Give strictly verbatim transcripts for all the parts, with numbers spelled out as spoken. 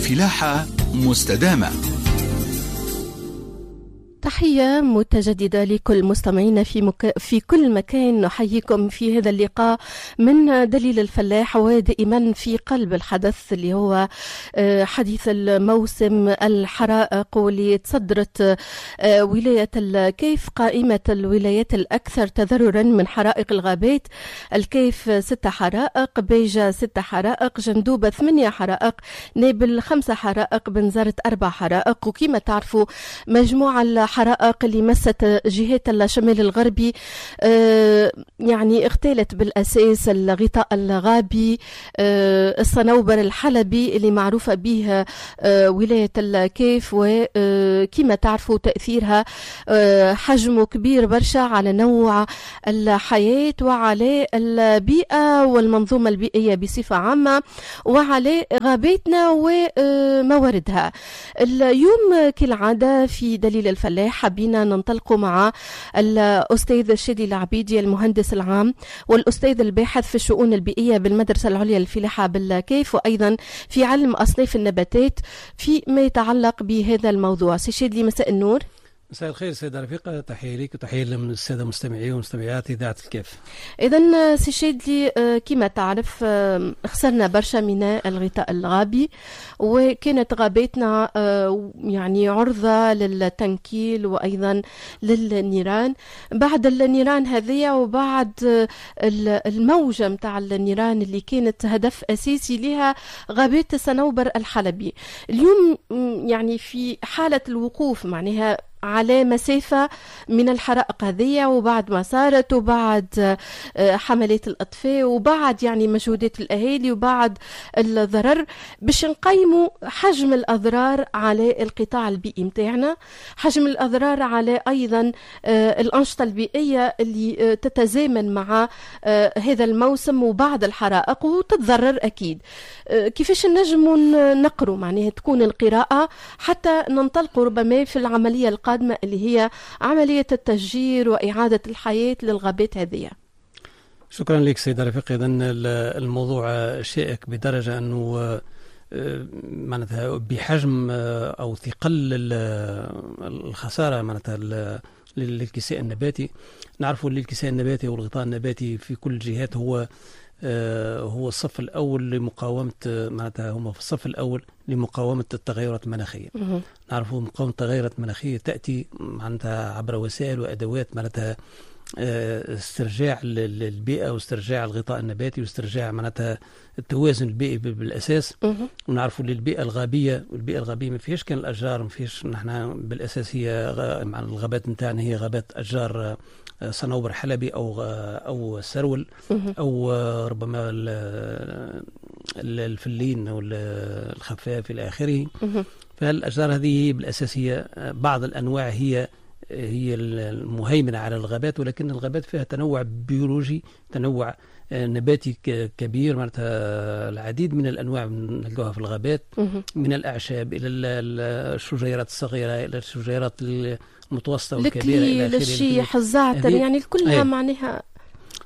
فلاحة مستدامة. تحية متجددة لكل مستمعينا في مك... في كل مكان. نحييكم في هذا اللقاء من دليل الفلاح، ودائما في قلب الحدث اللي هو حديث الموسم الحرائق، واللي تصدرت ولاية الكيف قائمة الولايات الأكثر تضررا من حرائق الغابات. الكيف ستة حرائق، بيجا ستة حرائق، جندوبة ثمانية حرائق، نابل خمسة حرائق، بنزرت أربع حرائق. وكما تعرفوا مجموعة الحرائق اللي مست جهات الشمال الغربي يعني اغتالت بالأساس الغطاء الغابي، الصنوبر الحلبي اللي معروفة به ولاية الكيف، وكما تعرفوا تأثيرها حجمه كبير برشا على نوع الحياة وعلى البيئة والمنظومة البيئية بصفة عامة وعلى غاباتنا ومواردها. اليوم كالعادة في دليل الفلاح حبينا ننطلق مع الأستاذ الشادي العبيدي المهندس العام والأستاذ الباحث في الشؤون البيئية بالمدرسة العليا للفلاحة بالكيف، وأيضا في علم أصناف النباتات في ما يتعلق بهذا الموضوع. سي شادي، مساء النور. مساء الخير سيدة رفيقة، تحية لك وتحية للسادة المستمعين ومستمعات إذاعة الكيف. إذا سي شادي، كما تعرف خسرنا برشا من الغطاء الغابي، وكانت غاباتنا يعني عرضة للتنكيل وأيضا للنيران. بعد النيران هذه وبعد الموجة متاع النيران اللي كانت هدف أساسي لها غابات الصنوبر الحلبي، اليوم يعني في حالة الوقوف معناها على مسافة من الحرائق هذه، وبعد ما صارت وبعد حملات الأطفاء وبعد يعني مجهودات الأهالي وبعد الضرر، باش نقيموا حجم الأضرار على القطاع البيئي متاعنا، حجم الأضرار على أيضا الأنشطة البيئية اللي تتزامن مع هذا الموسم وبعد الحرائق وتتضرر أكيد. كيفاش نجموا نقروا معناها تكون القراءة حتى ننطلقوا ربما في العملية القادمة اللي هي عملية التشجير وإعادة الحياة للغابات هذه؟ شكرا لك سيدة رفيق. إذن الموضوع شائك بدرجة أنه معناتها بحجم أو ثقل الخسارة معناتها للكساء النباتي. نعرف أن الكساء النباتي والغطاء النباتي في كل الجهات هو هو الصف الأول لمقاومة، معناتها هما في الصف الأول لمقاومة التغيرات المناخية. نعرفوا مقاومة التغيرات المناخية تأتي معناتها عبر وسائل وأدوات معناتها استرجاع البيئة واسترجاع الغطاء النباتي واسترجاع معناتها التوازن البيئي بالأساس. ونعرفوا اللي البيئة الغابية، والبيئة الغابية ما فيهاش كان الأشجار، ما فيهاش، نحن بالأساس هي مع الغابات نتاعنا هي غابات أشجار صنوبر حلبي أو أو سرول أو ربما الفلين أو الخفاف إلى آخره. فالأشجار هذه بالأساس هي بعض الأنواع هي هي المهيمنة على الغابات، ولكن الغابات فيها تنوع بيولوجي، تنوع نباتي كبير، معناتها العديد من الأنواع نلقاها في الغابات، من الأعشاب إلى الشجيرات الصغيرة إلى الشجيرات المتوسطة والكبيرة إلى آخره، الشيح، الزعتر، يعني كلها معناها.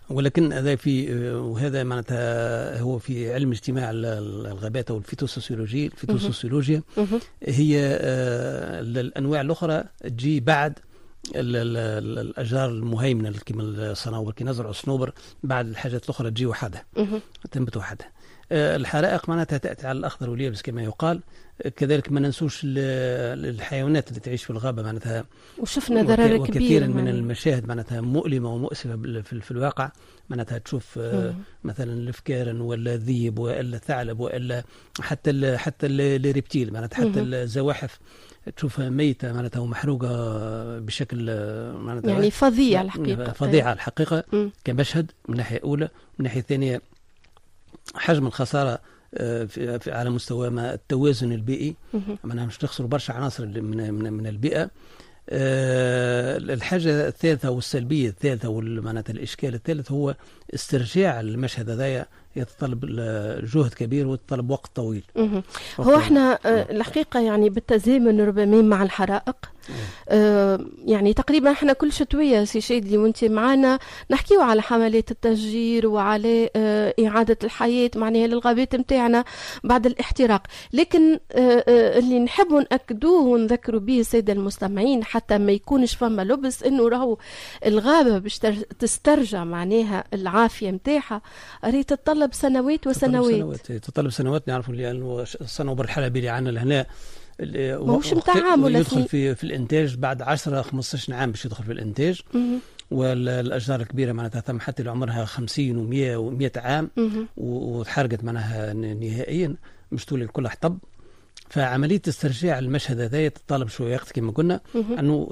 ولكن هذا في وهذا معناتها هو في علم اجتماع الغابات او الفيتوسوسيولوجي، الفيتوسوسيولوجيا هي الانواع الاخرى تجي بعد الاشجار المهيمنة كما الصنوبر، كي نزرعوا الصنوبر بعد الحاجات الاخرى تجي وحدها، تنبت وحدها. الحرائق معناتها تاتي على الاخضر واليابس كما يقال. كذلك ما ننسوش الحيوانات اللي تعيش في الغابة معناتها، وشفنا ضرر كبير وكثيرا من المشاهد معناتها مؤلمة ومؤسفه في الواقع. معناتها تشوف مثلا الفكارن ولا الذيب ولا الثعلب ولا حتى ال حتى les reptiles معناتها حتى الزواحف تشوفها ميته معناتها ومحروقه بشكل معناتها يعني فظيع الحقيقة، فظيعة الحقيقة كمشهد من ناحية اولى. من ناحية ثانية حجم الخسارة في على مستوى ما التوازن البيئي، معناها مش نخسروا برشا عناصر من من, من البيئة. الحاجة الثالثة والسلبيه الثالثة ومعناتها الاشكال الثالث هو استرجاع المشهد هذايا، يتطلب جهد كبير ويتطلب وقت طويل. هو احنا الحقيقة يعني بالتزامن ربما مع الحرائق آه يعني تقريبا احنا كل شتوية سي شادلي وانت معنا نحكيو على حملات التشجير وعلى آه اعاده الحياة معناها للغابات نتاعنا بعد الاحتراق، لكن آه آه اللي نحبوا ناكدوه ونذكروا به السادة المستمعين حتى ما يكونش فما لبس، انه راهو الغابة باش تسترجع معناها العافية نتاعها راهي تتطلب سنوات وسنوات. تتطلب سنوات. نعرفوا لانه الصنوبر الحلبي اللي عندنا لهنا ماهوش نتاع عام ولا يدخل في في الانتاج بعد عشرة خمسطاش عام باش يدخل في الانتاج. والاشجار الكبيرة معناتها ثم حتى اللي عمرها خمسين ومية ومية عام وتحرقت معناها نهائيا مش تولي الكل حطب. فعملية استرجاع المشهد هذا تتطلب شوية وقت كما قلنا، انه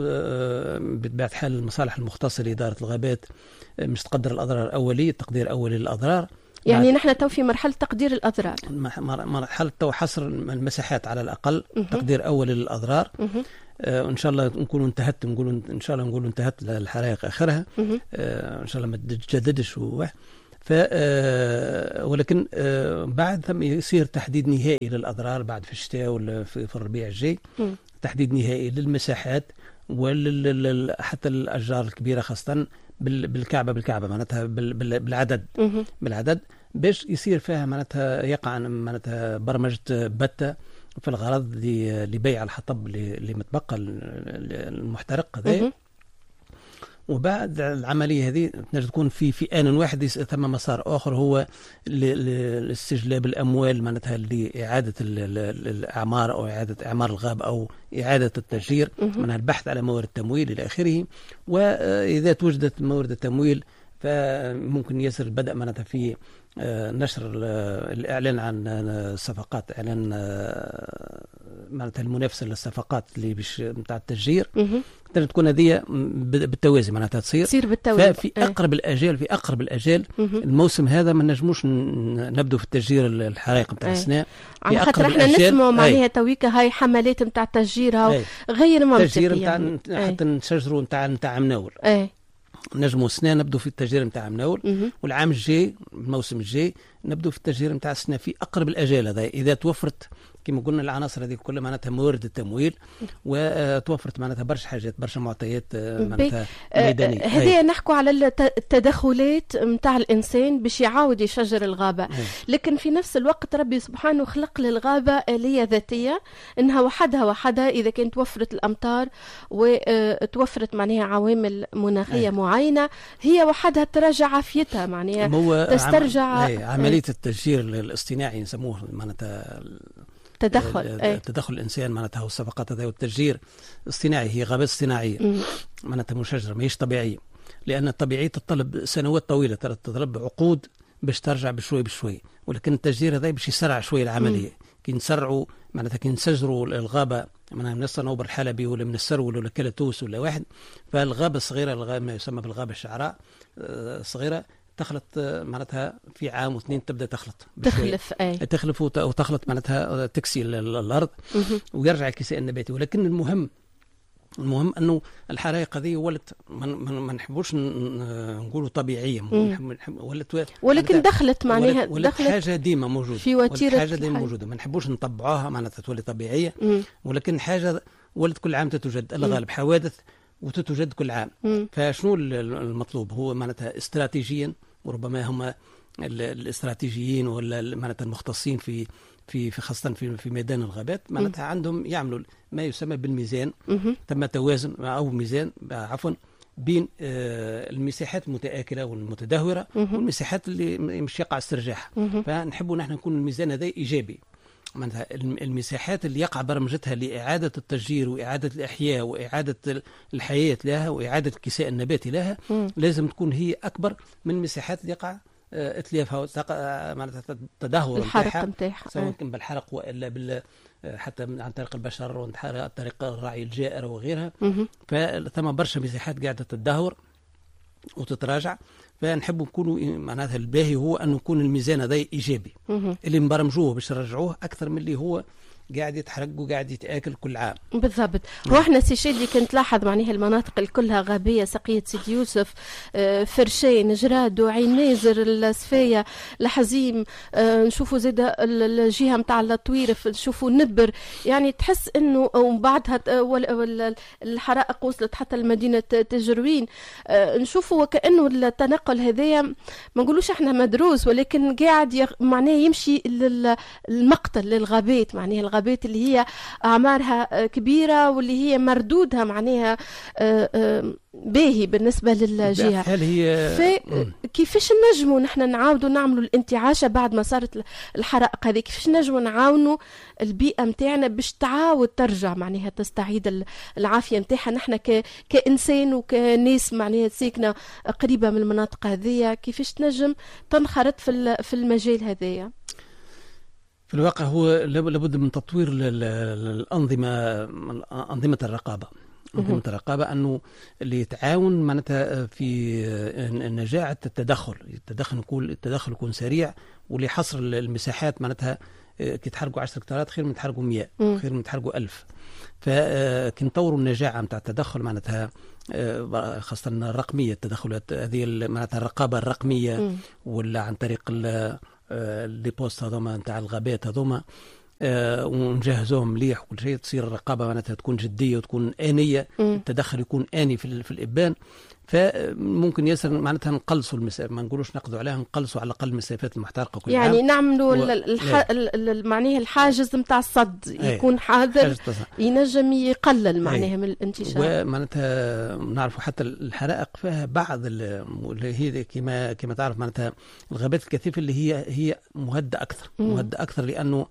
بطبيعة الحال المصالح المختصة لادارة الغابات مش تقدر الاضرار الاولية، تقدير اولي للاضرار. يعني نحن تو في مرحلة تقدير الأضرار، مرحلة تو حصر المساحات على الأقل، تقدير أولي للأضرار. آه إن شاء الله نكونوا انتهت، نقولوا إن شاء الله نقولوا انتهت الحرائق آخرها، آه إن شاء الله ما تتجددش. ف آه ولكن آه بعد ثم يصير تحديد نهائي للأضرار بعد في الشتاء ولا في, في الربيع الجاي، تحديد نهائي للمساحات ولا حتى الأشجار الكبيرة خاصة بالكعبة بالكعبة معناتها بالعدد بالعدد باش يصير فيها معناتها يقع معناتها برمجة بتة في الغرض لبيع الحطب اللي متبقى المحترق هذا. وبعد العملية هذه تنجم تكون في في آن واحد ثم مسار آخر هو لاستجلاب الأموال معناتها لإعادة الأعمار أو إعادة إعمار الغاب أو إعادة التشجير، معناها البحث على موارد التمويل إلى آخره. وإذا توجدت موارد التمويل فممكن يسر البدء معناتها في نشر الإعلان عن الصفقات، إعلان معناتها المنافسة للصفقات اللي باش نتاع التشجير. تنجم تكون هذه بالتوازي معناتها تصير تصير بالتوازي. ففي اقرب الاجال في اقرب الاجال الموسم هذا ما نجموش نبدو في التشجير الحرائق نتاع السنة، على خاطر احنا نسمعوا معناها تويكا هاي حملات نتاع التشجير غير منطقية، التشجير نتاع حتى نشجروا نتاع نتاع مناول. نجموا السنة نبدو في التشجير نتاع مناول، والعام الجاي الموسم الجاي نبدو في التشجير نتاع السنة في اقرب الاجال هذا اذا توفرت كما قلنا العناصر هذه كلها معناتها موارد التمويل وتوفرت معناتها برشا حاجات برشا معطيات معناتها ميدانية. هذه نحكوا على التدخلات نتاع الانسان باش يعاود يشجر الغابة، لكن في نفس الوقت ربي سبحانه خلق للغابه آلية ذاتية انها وحدها وحدها اذا كانت توفرت الامطار وتوفرت معناها عوامل مناخيه معينة هي وحدها تراجع عافيتها معناها تسترجع. عم... عملية التشجير الاصطناعي نسموه معناتها تدخل تدخل الانسان معناتها والصفقات هذا والتشجير اصطناعي، هي غابات اصطناعيه معناتها مشجره ماهيش طبيعية، لان الطبيعية تتطلب سنوات طويلة، تتطلب عقود باش ترجع بشوي بشوي، ولكن التشجير هذا باش يسرع شوي العملية. كي نسرعوا معناتها كي نسجروا الغابة معناها من الصنوبر الحلبي ولا من السرول ولا كلاتوس ولا واحد، فالغابه الصغيرة الغابة ما يسمى بالغابه الشعراء الصغيرة تخلط معناتها في عام واثنين تبدا تخلط تخلف اي تخلف وتخلط معناتها تكسي الارض ويرجع الكساء النباتي. ولكن المهم المهم انه الحرائق هذه ولت ما نحبوش نقولوا طبيعية، ولت ولكن دخلت معناها ولت دخلت حاجة ديما موجودة في وتيرة حاجة ديما موجودة، ما نحبوش نطبعوها معناتها تولي طبيعية، ولكن حاجة ولت كل عام تتوجد الغالب حوادث وتتوجد كل عام. مم. فشنو المطلوب هو معناتها استراتيجيا، وربما هم الاستراتيجيين ولا معناتها المختصين في في في خاصة في في ميدان الغابات معناتها عندهم يعملوا ما يسمى بالميزان. مم. تم توازن او ميزان عفوا بين المساحات المتآكلة والمتدهورة والمساحات اللي مش يقع استرجاعها. فنحبوا نحن نكون الميزان هذا إيجابي، معناتها المساحات اللي يقع برمجتها لإعادة التشجير وإعادة الإحياء وإعادة الحياة لها وإعادة الكساء النباتي لها مم. لازم تكون هي أكبر من المساحات اللي يقع اتلافها معناتها التدهور الحرق نتاعها، سواء كان بالحرق والا بال حتى عن طريق البشر وعن طريق الرعي الجائر وغيرها. فثم برشا مساحات قاعدة تتدهور وتتراجع، فنحب نكونوا معناتها الباهي هو أن يكون الميزان هذا إيجابي مم. اللي نبرمجوه باش نرجعوه أكثر من اللي هو قاعد يتحرق وقاعد يتاكل كل عام. بالضبط. هو احنا سي شادي كنت لاحظ معناها المناطق كلها غابيه، سقيه سيدي يوسف، فرشين، جراد، وعين نازر، السفايه، الحزيم، نشوفوا زاد الجهة نتاع الطويرف، نشوفوا نبر، يعني تحس انه ومن بعدها الحرائق وصلت حتى لمدينة تجروين. نشوفوا وكانه التنقل هذايا ما نقولوش احنا مدروس، ولكن قاعد معناه يمشي للمقتل، للغابات، معناها الغابات اللي هي أعمارها كبيرة واللي هي مردودها معناها باهي بالنسبة للجهة. هل هي كيفاش نجموا نحن نعاودوا نعملوا الانتعاشة بعد ما صارت الحرائق هذه؟ كيفاش نجموا نعاونوا البيئة متاعنا باش تعاود ترجع معناها تستعيد العافية متاعها؟ نحن ك... كإنسان وكناس معناها ساكنة قريبة من المناطق هذه، كيفاش تنجم تنخرط في في المجال هذايا؟ في الواقع هو لابد من تطوير الأنظمة، أنظمة الرقابة، أنظمة الرقابة أنه اللي يتعاون معناتها في نجاعة التدخل، التدخل يكون التدخل يكون سريع، واللي حصر المساحات معناتها كي تحرقوا عشرة هكتارات خير من تحرقوا مئة، خير من تحرقوا ألف. فكي نطوروا النجاعة نتاع التدخل معناتها خاصة الرقمية، التدخلات هذه معناتها الرقابة الرقمية، ولا عن طريق les postes هذوما نتاع الغابات هذوما، آه ونجهزوهم مليح وكل شيء، تصير الرقابة معناتها تكون جدية وتكون انية، مم. التدخل يكون اني في, في الابان. فممكن ياسر معناتها نقلصوا المسافة، ما نقولوش نقضوا عليها، نقلصوا على الاقل المسافات المحترقه كل يعني عام. نعملوا و... الح... معناها الحاجز نتاع الصد يكون حاضر، ينجم يقلل معناها من الانتشار. ومعناتها نعرفوا حتى الحرائق فيها بعض اللي هي كما كما تعرف معناتها الغابات الكثيفة اللي هي هي مهدئه اكثر، مهدئه اكثر لانه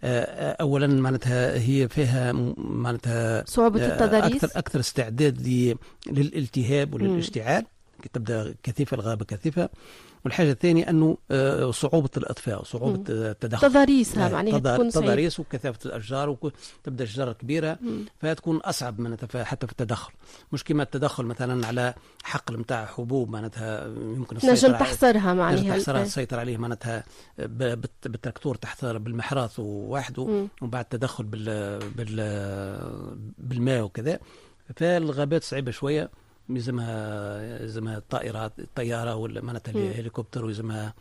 اولا معناتها هي فيها معناتها صعوبة التضاريس، اكثر اكثر استعداد للالتهاب وللاشتعال كي تبدا كثيفة الغابة كثيفة. والحاجة الثانية انه صعوبة الاطفاء وصعوبة التدخل، تضاريسها معناها تكون تضاريس وكثافه الاشجار وتبدا الشجرة كبيرة، فتكون اصعب معناتها حتى في التدخل. مش كما التدخل مثلا على حقل نتاع حبوب معناتها يمكن نجم تحصرها معناها، تحصرها تسيطر عليه معناتها بالتراكتور، تحصر بالمحراث ووحده، ومن بعد التدخل بال بال بالماء وكذا. فالغابات صعيبة شوية، يلزمها يلزمها الطائرات، الطيارة ولا معناتها الهليكوبتر، ويلزمها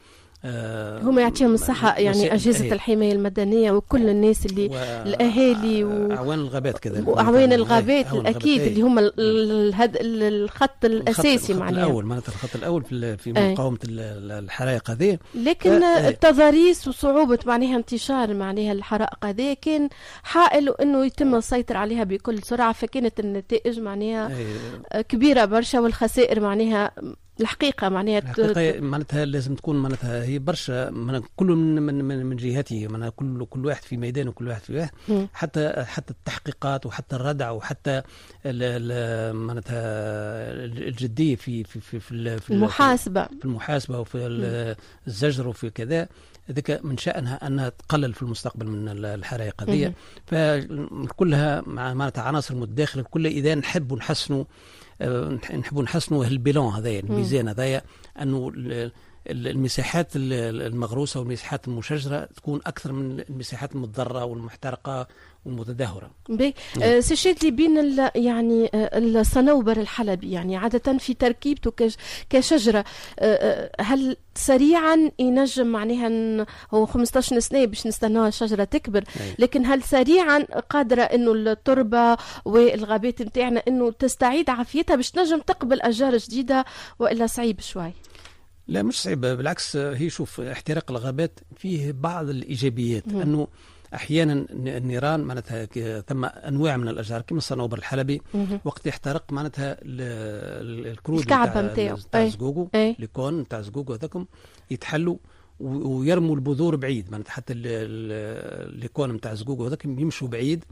آه هما يعطيهم الصحة يعني أجهزة الحماية المدنية وكل الناس اللي و... الأهالي و... أعوان الغابات كذلك، وأعوان الغابات الأكيد اللي هم الهد... الخط الأساسي معناها الأول، معناتها الخط الأول في في مقاومة الحرائق هذه. لكن آه. التضاريس وصعوبة معناها انتشار معناها الحرائق هذه كان حائل أنه يتم السيطرة عليها بكل سرعة، فكانت النتائج معناها كبيرة برشا، والخسائر معناها الحقيقة معناها الحقيقة معناتها لازم تكون معناتها هي برشا من كل من من من, من جهته، معناتها كل كل واحد في ميدانه، كل واحد في واحد، حتى حتى التحقيقات وحتى الردع وحتى معناتها الجدية في في في في, في المحاسبة، في المحاسبة وفي الزجر وفي كذا. ذيك من شأنها أنها تقلل في المستقبل من الحرائق هذه. فكلها معناتها عناصر متداخلة، كل إذا نحب نحسنوا نحبوا نحسنوا ال bilan هذايا، الميزان هذايا، انه المساحات المغروسه والمساحات المشجره تكون اكثر من المساحات المتضررة والمحترقه والمتدهوره. باهي سي شادلي، بين يعني الصنوبر الحلبي يعني عادة في تركيبته كشجرة، هل سريعا ينجم معناها هو خمسطاش سنة باش نستناها الشجرة تكبر، لكن هل سريعا قادرة انه التربة والغابات نتاعنا انه تستعيد عافيتها باش تنجم تقبل اشجار جديدة، والا صعيب شوي؟ لا مش صعيب، بالعكس. هي شوف احتراق الغابات فيه بعض الايجابيات، مم. انه احيانا النيران معناتها ثم انواع من الاشجار كما الصنوبر الحلبي، مم. وقت يحترق معناتها الكرود الكعبة نتاعو نتاع زقوقو، les cones نتاع زقوقو هذاكم يتحلوا ويرموا البذور بعيد، معناتها حتى les cones نتاع زقوقو هذاك يمشوا بعيد،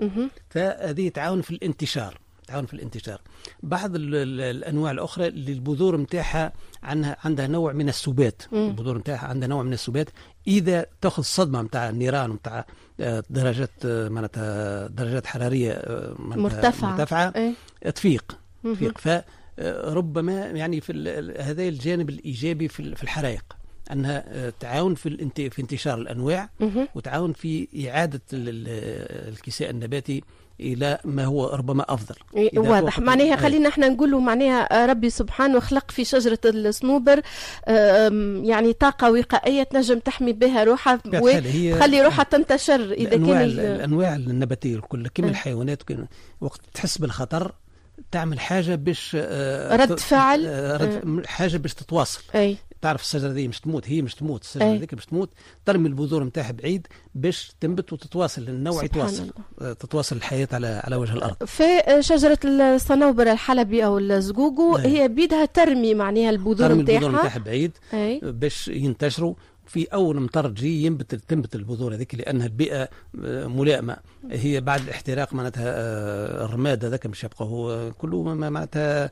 فهذه تعاون في الانتشار، تعاون في الانتشار. بعض الانواع الاخرى اللي البذور نتاعها عندها عندها نوع من السبات، البذور نتاعها عندها نوع من السبات، اذا تاخذ صدمة نتاع النيران نتاع درجات معناتها درجات حرارية مرتفعة مرتفعة ايه؟ تفيق تفيق. فربما يعني في هذا الجانب الايجابي في الحرائق، انها تعاون في في انتشار الانواع وتعاون في اعاده الكساء النباتي الى ما هو ربما افضل. واضح. معناها خلينا احنا نقولوا معناها ربي سبحانه خلق في شجرة الصنوبر يعني طاقة وقائيه تنجم تحمي بها روحها وتخلي روحها تنتشر. اذا كان الانواع النباتية الكل كما الحيوانات وقت تحس بالخطر تعمل حاجة باش رد فعل، رد حاجة باش تتواصل. أي. تعرف الشجرة دي مش تموت، هي مش تموت، الشجرة هذيك مش تموت، ترمي البذور نتاعها بعيد باش تنبت وتتواصل، النوع يتواصل، تتواصل الحياة على على وجه الارض. في شجرة الصنوبر الحلبي او الزقوقو هي بيدها ترمي معناها البذور نتاعها، ترمي البذور نتاعها بعيد باش ينتشروا. في اول مطر تجي ينبت تنبت البذور هذيك لانها البيئة ملائمه. هي بعد الاحتراق معناتها الرماد هذاك مش يبقى هو كله معناتها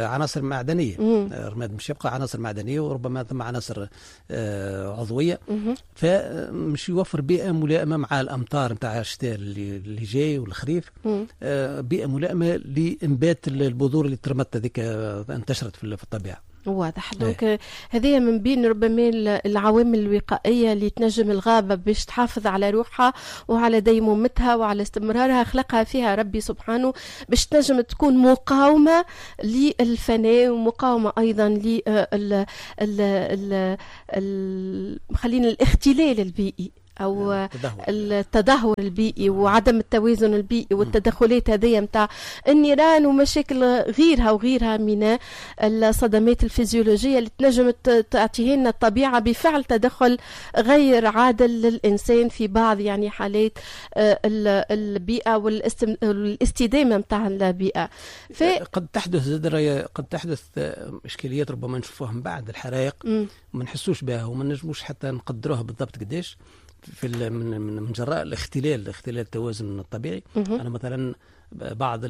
عناصر معدنية. الرماد مش يبقى عناصر معدنية وربما ثم عناصر عضوية، فمش يوفر بيئة ملائمه مع الامطار نتاع الشتاء اللي, اللي جاي والخريف، بيئة ملائمه لانبات البذور اللي ترمت هذيك انتشرت في الطبيعة. واضح. donc هذه من بين ربما العوامل الوقائية اللي تنجم الغابة باش تحافظ على روحها وعلى ديمومتها وعلى استمرارها، خلقها فيها ربي سبحانه باش تنجم تكون مقاومة للفناء ومقاومة أيضا ل خلينا الاختلال البيئي أو التدهور البيئي وعدم التوازن البيئي والتدخلات هذه متاع النيران ومشاكل غيرها وغيرها من الصدمات الفيزيولوجية اللي تنجم تعطيها لنا الطبيعة بفعل تدخل غير عادل للإنسان في بعض يعني حالات البيئة والاستدامة متاع البيئة. ف... قد تحدث قد تحدث إشكاليات ربما نشوفوها من بعد الحرائق وما نحسوش بها وما نجموش حتى نقدروها بالضبط قداش في من من جراء الاختلال اختلال التوازن الطبيعي. مم. انا مثلا بعض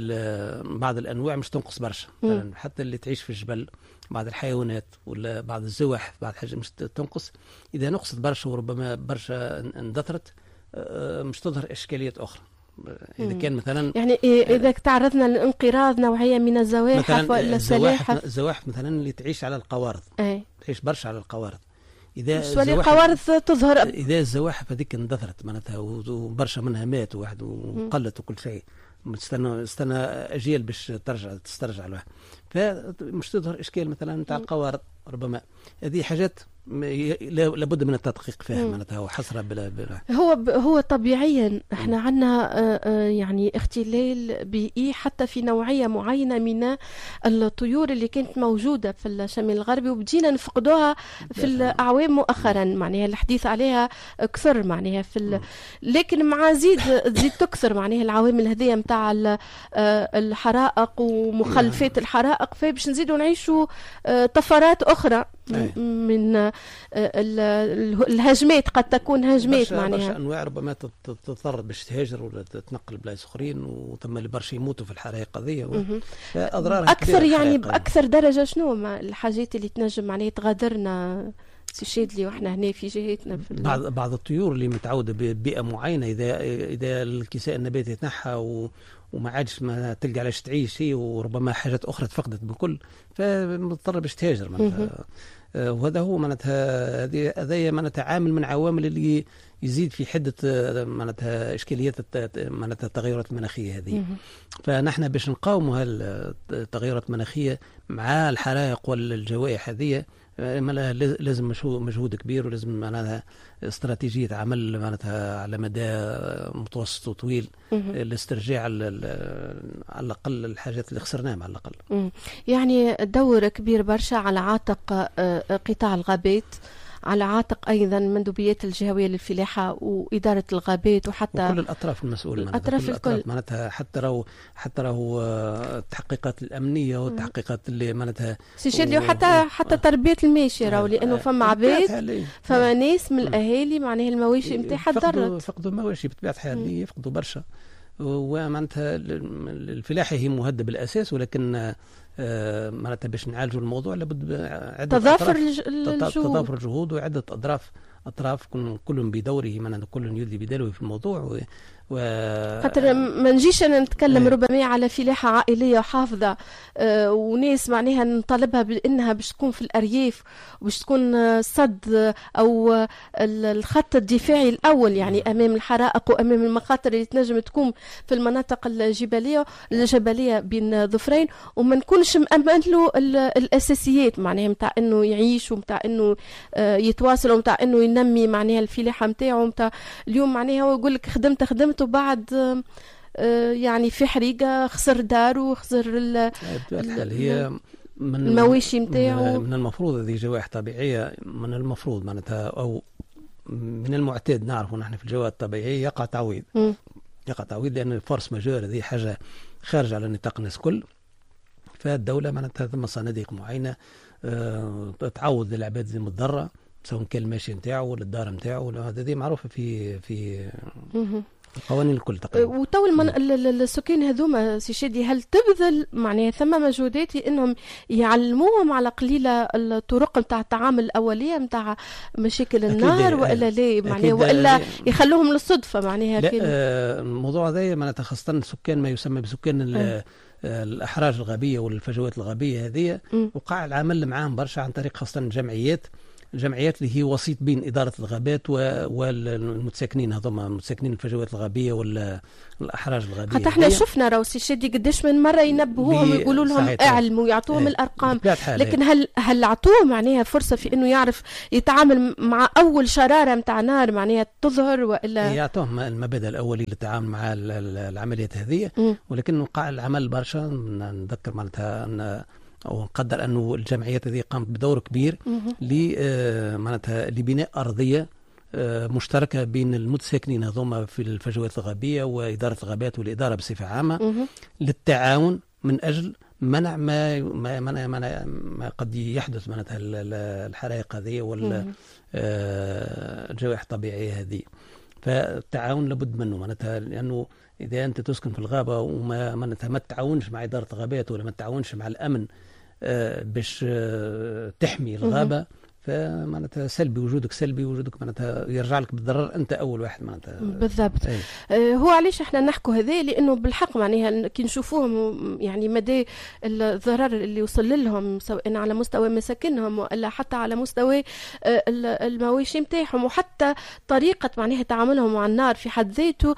بعض الانواع مش تنقص برشا، مثلا حتى اللي تعيش في الجبل بعض الحيوانات ولا بعض الزواحف بعض الحاجات مش تنقص. اذا نقصت برشا وربما برشا اندثرت مش تظهر اشكاليات اخرى. اذا كان مثلا يعني اذا تعرضنا لانقراض نوعية من الزواحف ولا السلاحف، الزواحف مثلا اللي تعيش على القوارض، أي. تعيش برشا على القوارض، اذا القوارض تظهر، اذا الزواحف هذيك اندثرت معناتها وبرشا منها مات وواحد وقلت وكل شيء، استنى استنى اجيال باش ترجع تسترجع الواحد، فمش تظهر اشكال مثلا نتاع القوارض. ربما هذه حاجات لابد من التدقيق فيها معناتها وحصرها بلا بلا. هو هو طبيعيا احنا عندنا يعني اختلال بيئي حتى في نوعية معينة من الطيور اللي كانت موجودة في الشمال الغربي وبدينا نفقدوها في الاعوام مؤخرا، معناها الحديث عليها كثر معناها في ال... لكن مع زيد تزيد تكثر معناها العوامل هذه نتاع الحرائق ومخلفات الحرائق، فباش نزيدوا نعيشوا طفرات اخرى من الهجمات، قد تكون هجمات معناها برشا انواع ربما تضطر باش تهاجر ولا تتنقل بلايص اخرين، وثم اللي برشا يموتوا في الحرائق هذه، فاضرارها اكثر يعني باكثر درجه. شنو الحاجات اللي تنجم معناها تغادرنا سي شادلي واحنا هنا في جهتنا؟ في بعض بعض الطيور اللي متعوده ببيئه معينة، اذا اذا الكساء النباتي يتنحى و وما عادش ما تلقى علاش تعيش هي، وربما حاجات اخرى تفقدت بالكل، فمضطر باش تهاجر معناتها. وهذا هو معناتها هذا معناتها عامل من عوامل اللي يزيد في حده معناتها اشكاليات معناتها التغيرات المناخية هذه. فنحن باش نقاوموا هالتغيرات المناخية مع الحرائق والجوائح هذه لازم مجهود كبير، ولازم معناتها استراتيجية عمل معناتها على مدى متوسط وطويل لاسترجاع على الأقل الحاجات اللي خسرناها على الأقل. يعني دور كبير برشا على عاتق قطاع الغابات، على عاتق أيضا المندوبيات الجهوية للفلاحة وإدارة الغابات، وحتى وكل الأطراف المسؤولة الأطراف الكل معناتها، حتى راهو حتى راهو التحقيقات الأمنية والتحقيقات اللي معناتها سي شادلي، وحتى حتى تربية الماشية راهو، لأنه فما عباد فما ناس من الأهالي معناها المواشي نتاعها تضرت، فقدوا المواشي بطبيعة الحال، يفقدوا برشا. ومعناتها الفلاحة هي مهددة بالأساس، ولكن معناتها باش نعالجوا الموضوع لابد عدة تضافر الجهود، تضافر الجهود وعدة أطراف اطراف كل بدوره، معناتها كل يدلي بدلوه في الموضوع. و و خاطر ما نجيش انا نتكلم ربما على فلاحة عائلية وحافظه آه وناس معناها نطالبها بانها باش تكون في الارياف وباش تكون صد او الخط الدفاعي الاول يعني امام الحرائق وامام المخاطر اللي تنجم تكون في المناطق الجبلية الجبلية بين ظفرين، وما نكونش مأمن له الاساسيات معناها نتاع انه يعيش ومتاع انه يتواصل ومتاع انه ينمي معناها الفلاحة نتاعو. نتاع اليوم معناها هو يقول لك خدمت خدمت وبعد يعني في حريقة خسر داره وخسر الحال. هي من المواشي نتاعو. من المفروض هذه جوائح طبيعية، من المفروض معناتها او من المعتاد نعرفوا نحن في الجوائح الطبيعية يقع تعويض. م. يقع تعويض لان ال force majeure هذه حاجة خارجه على نطاق الناس الكل، فالدولة معناتها ثم صناديق معينة أه تعوض للعباد المتضررة سواء كان الماشي نتاعو ولا الدار نتاعو، هذه معروفة في في القوانين الكل تقريبا. وتو المن... السكان هذوما سي شادي هل تبذل معناها ثم مجهودات انهم يعلموهم على قليله الطرق نتاع التعامل الاولية نتاع مشاكل النار والا لا معناها والا يخلوهم للصدفه معناها؟ لا آه الموضوع هذا معناتها خاصة السكان ما يسمى بسكان آه. الاحراج الغابيه والفجوات الغابيه هذه، وقع العمل معاهم برشا عن طريق خاصة الجمعيات، الجمعيات اللي هي وسيط بين إدارة الغابات والمتساكنين هذوما متساكنين الفجوات الغابية والأحراج الغابية. حتى احنا شفنا راهو سي شادي قداش من مرة ينبهوهم ويقولوا لهم اعلموا ويعطوهم الأرقام، لكن هل هل عطوه معناها فرصة في أنه يعرف يتعامل مع أول شرارة نتاع نار معناها تظهر وإلا؟ يعطوهم المبادئ الأولي للتعامل مع العمليات هذه، ولكن وقع العمل برشا. نذكر معناتها أن او نقدر انه الجمعيات هذه قامت بدور كبير ل معناتها لبناء ارضية مشتركة بين المتساكنين هذوما في الفجوات الغابيه واداره الغابات والادارة بصفة عامة للتعاون من اجل منع ما ما ما, ما, ما قد يحدث معناتها الحرائق هذه والجوائح الطبيعية هذه. فالتعاون لابد منه معناتها، لانه اذا انت تسكن في الغابة وما معناتها ما تتعاونش مع ادارة الغابات ولا ما تتعاونش مع الامن باش تحمي الغابة، فمعناتها سلبي وجودك، سلبي وجودك معناتها يرجع لك بالضرر انت اول واحد معناتها. بالضبط. أي. هو علاش احنا نحكوا هذا؟ لانه بالحق معناها كي نشوفوهم يعني مدى الضرر اللي وصل لهم سواء على مستوى مساكنهم والا حتى على مستوى المواشي نتاعهم، وحتى طريقه معناها تعاملهم مع النار في حد ذاته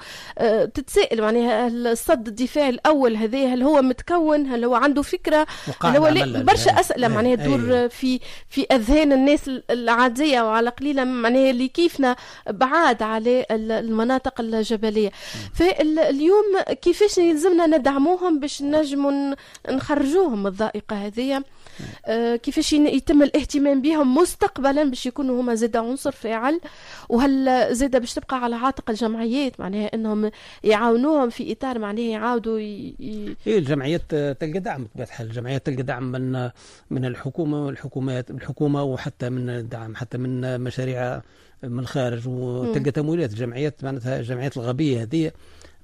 تتسائل معناها الصد الدفاعي الاول هذا هل هو متكون؟ هل هو عنده فكرة؟ هل هو برشا اسئلة معناها تدور في في اذهان الناس العادية وعلى قليلة معناها اللي كيفنا بعاد على المناطق الجبلية. فاليوم كيفاش يلزمنا ندعموهم باش نجموا نخرجوهم من الضائقة هذه؟ آه كيفاش يتم الاهتمام بهم مستقبلا باش يكونوا هما زاد عنصر فاعل؟ وهل زاد باش تبقى على عاتق الجمعيات معناها انهم يعاونوهم في اطار معناها يعاودوا ي... ي... إيه الجمعيات تلقى دعم بطبيعة الحال، الجمعيات تلقى دعم من من الحكومة والحكومات الحكومة وحتى من دعم حتى من مشاريع من الخارج، وتلقى تمويلات الجمعيات معناتها الجمعيات الغابيه هذه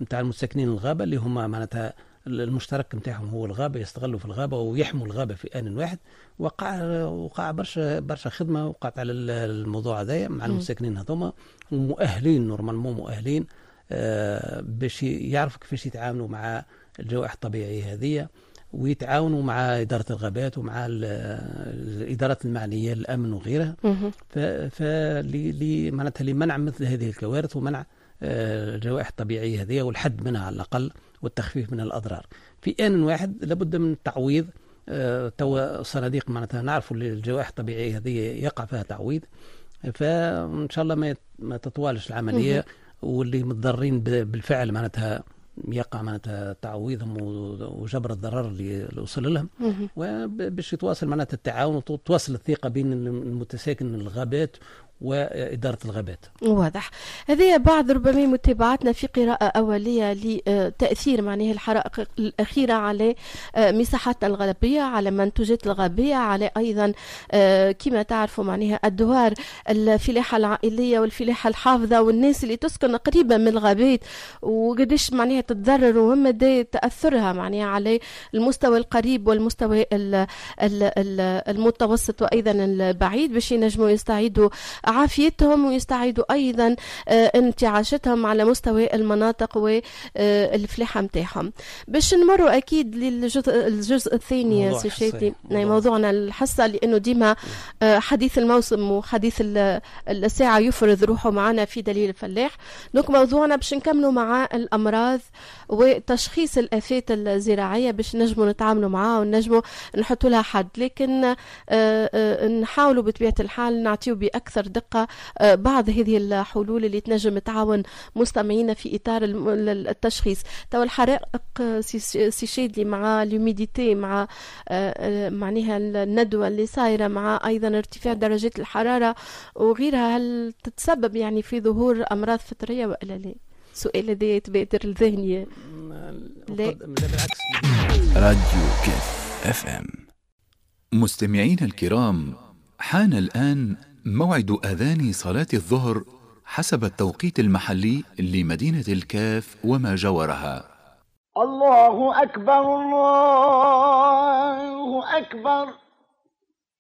نتاع المتساكنين الغابة اللي هما معناتها المشترك نتاعهم هو الغابة، يستغلوا في الغابة ويحموا الغابة في ان واحد. وقع وقع برشا برشا خدمة وقعت على الموضوع هذايا مع المتساكنين هذوما، ومؤهلين normalement مؤهلين آه باش يعرفوا كيفاش يتعاملوا مع الجوائح الطبيعية هذه، ويتعاونوا مع إدارة الغابات ومع الإدارات المعنية الأمن وغيرها، فل معناتها لمنع مثل هذه الكوارث ومنع الجوائح الطبيعية هذه والحد منها على الأقل والتخفيف من الأضرار. في آن واحد لابد من التعويض. توا صناديق معناتها نعرفوا الجوائح الطبيعية هذه يقع فيها تعويض، فإن شاء الله ما ما تطوالش العملية، واللي متضررين بالفعل معناتها يقع معناتها تعويضهم وجبر الضرر اللي وصل لهم، وباش يتواصل معناتها التعاون وتواصل الثقة بين المتساكن الغابات وإدارة الغابات. واضح. هذه بعض ربما متابعتنا في قراءة أولية لتأثير معناه الحرائق الأخيرة على مساحات الغابية، على منتوجات الغابية، على أيضا كما تعرفوا معناها أدوار الفلاحة العائلية والفلاحة الحافظة والناس اللي تسكن قريبة من الغابات وقديش معناها تتضرر ومدى تأثرها معناها على المستوى القريب والمستوى المتوسط وأيضا البعيد باش ينجموا يستعيدوا عافيتهم ويستعيدوا أيضا انتعاشتهم على مستوى المناطق والفلاحة متاعهم. باش نمروا أكيد للجزء الجزء الثاني سي شادلي، موضوعنا الحصة، لأنه ديما حديث الموسم وحديث الساعة يفرض روحه معنا في دليل الفلاح. donc موضوعنا باش نكملوا مع الأمراض وتشخيص الآفات الزراعية باش نجموا نتعاملوا معها ونجموا نحطوا لها حد، لكن نحاولوا بطبيعة الحال نعطيو بأكثر دقة بعض هذه الحلول اللي تنجم تعاون مستمعينا في إطار التشخيص. تو الحرائق سي شادلي مع l'humidité، مع معناها الندوة اللي صايرة، مع أيضا ارتفاع درجات الحرارة وغيرها، هل تتسبب يعني في ظهور أمراض فطرية ولا لا؟ السؤال هذا يتبادر لذهني. لا بالعكس. راديو كيف اف ام. مستمعينا الكرام، حان الآن موعد أذان صلاة الظهر حسب التوقيت المحلي لمدينة الكاف وما جاورها. الله أكبر، الله أكبر.